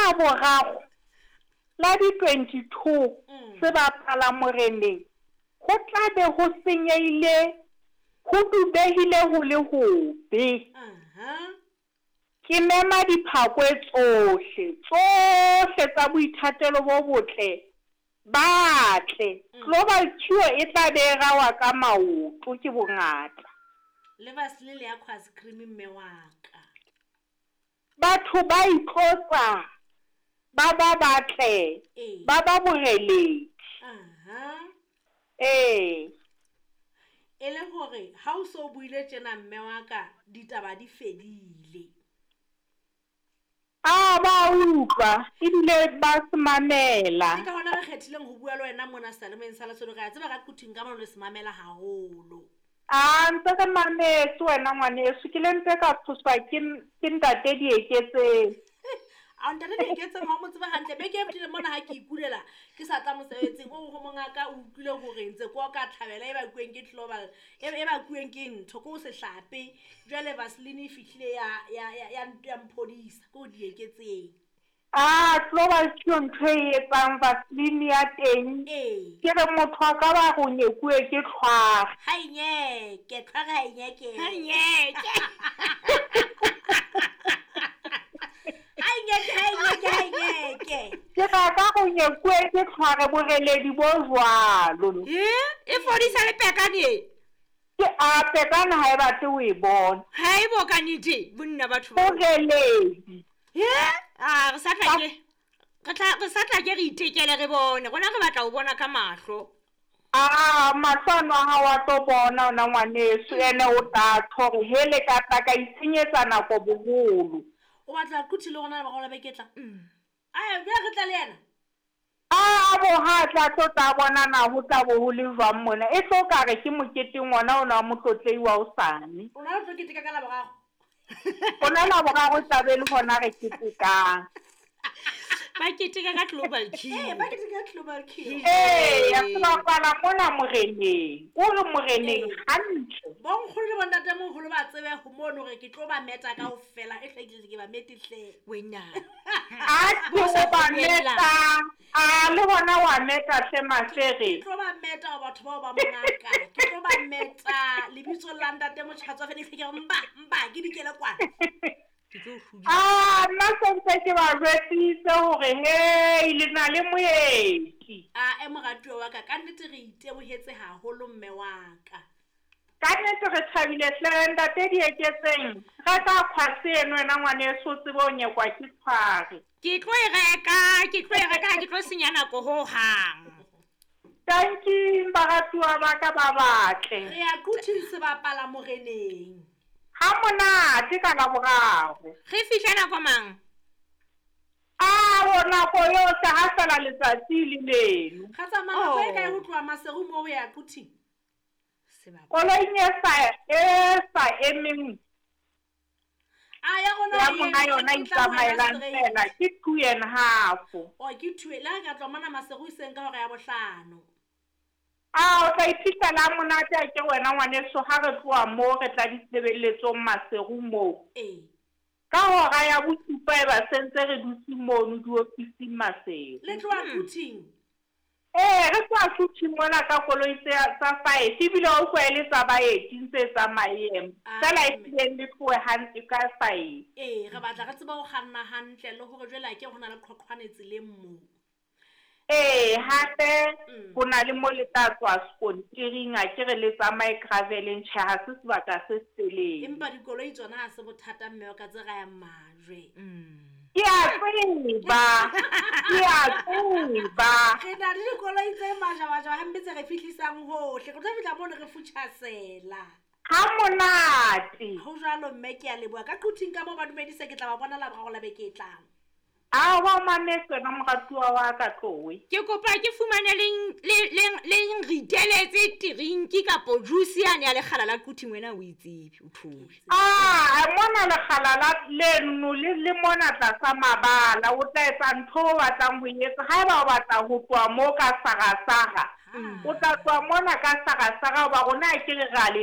Laboraro la di 22 sebapala moreneng go tla be go senyehile go dubehile go le gobe. Ke mema diphakwe tsohle, tsohle tsa boithatelo bo botle ba tle. Global Cure e tla be e rawa ka maoto ke bongata. Le Vaseline le Aquas Cream mme wa ka. Batho ba itlotsa ba ba batle, ba ba boreledi. Ee. E le gore ha o so buile tjena mme wa ka ditaba di fedile. A ba utlwa ebile ba se mamela. Ke ka hona re kgethileng ho bua le wena mona seyalemoyeng sa Lesotho. Re a tseba ka Quthing ka mono le se mamela haholo. A ntse re mametse wena ngwaneso, ke le mpe ka tshoswa ke ke ntate Dieketseng. A ntate Dieketseng ha o mo tsebe hantle. Beke e fetileng mona ha ke ikulela ke sa tla mosebetsing, o re ho mongaka o utlwile hore ntse ke oka tlhabela e bakuweng ke global e e bakuweng ke ntho ke ho se hlape. Jwale Vaseline e fihlile ya ya ya ya ya mphodisa ke ho Dieketseng. A global ke yo ntho e etsang Vaseline ya teng. Ee. Ke re motho a ka ba go nyekuwe ke tlhware. Ha e nyeke, tlhware ha e nyeke. Ha e nyeke. Ha e nyeke, ha e nyeke, ha e nyeke. Ke re a ka go nyekuwe ke tlhware boreledi bo jwalo. E, e fodisa le pekane e. Ke a pekane ha e batle o e bona. Ha e bo ka nete, bonna batho ba. Boreledi. He, a re sa tla ke re tla re sa tla ke re itekele re bone. Rona re batla ho bona ka mahlo. Aa, mahlo ano a hao a tlo bona ona ngwaneso, ene o tla tjho hore hele ka tla ka itshenyetsa nako boholo. O batla Quthi le rona la beke e tlang? Ae, bjale re tla le yena? A bo ha a tla tlo tla bona na ho tla bo ho le jwang mona. E tlo ka re ke moketeng wona ona wa Motlotlehi wa hosane. Rona re tlo keteka ka Laboraro. Rona Laboraro e tla be e le hona re ketekang. Ba keteka ka Global Q. Ee, ba keteka ka Global Q. Ee, se bapala mona moreneng. O re moreneng hantle. Bonkgono le bontatemoholo ba tsebe ho mono hore ke tlo ba meta kaofela. E hlwekile ke ba mete hle. Wena. A ke o ba meta. A le hona wa meta hle Mahlere. Ke tlo ba meta o batho bao ba mongaka. Ke tlo ba meta lebitsong la ntate Motjhatswa fela ke re mba mba ke dikele kwana. Ke tlo hlodi. A nna sentse ke ba jwetsitse hore hei le na le moeti. A e moratuwa wa ka ka nnete re itebohetse haholo mme wa ka. Ka nnete re thabile hle ntate Dieketseng. Reka kgwase eno wena ngwaneso o tsebe ho nyekwa ke tshware. Ke tlo e reka, ke tlo e reka ha ke tlo senya nako ho hang. Tanking baratuwa ba ka ba batle. Re ya Quthing sebapala moreneng. Ha monate ka Laboraro. Re fihla nako mang? Ao nako yohle ha fela letsatsi le leno. Ra tsamaya nako e kae ho tloha Maseru moo ho ya Quthing? Koloing e sa e sa emeng. A ya rona Ya monga yona e tla wena itsamaelang straight. fela ke two and half. O ke two le ha ka tloha mona Maseru hoseng ka hora ya bohlano. A o tla iphihlella ha monate a ke wena ngwaneso ha re tloha moo re tla ditshebeletsong Maseru moo. Ee. Ka hora ya bosupa e ba sentse re dutse mono diofising Maseru. Le tloha Quthing. Ee, re tloha Quthing mona ka koloi tse tsa five ebile wa utlwa e le tsa baeti ntse tsamayeng. Feela e hlileng le tlohe hantle ka five. Ee, re batla re tsebe ho kganna hantle le hore jwale akere ho na le qhoqhwane tseleng moo. Ee, hape ho na le mo le tla tswa sekontiring akere le tsamaye graveleng. Tjhe, ha se sebaka se setelele. Empa dikoloi tsona ha se bothata mme wa ka tse rayang majwe. Ke a tseba, ke a tseba. Re na le dikoloi tse majabajaba hampe tse re fihlisang hohle. Re tlo fihla mono re futjhasela. Ha monate. Ho jwalo mme ke a leboha. Ka Quthing ka moo ba dumedise ke tla ba bona Laboraro la beke e tlang. A wa mametse wena moratuwa wa ka tlowe. Ke kopa ke fumane le le le le nriteletse tirinki kapo juice yane ya lekgala la Quthing wena o e tsebe o thole. A mona lekgala la leno le le mona tlasa mabala o tla etsa ntho o batlang ho e etsa. Haeba o batla ho tloha moo ka sarasara, o tla tloha mona ka sarasara hoba rona akere re a le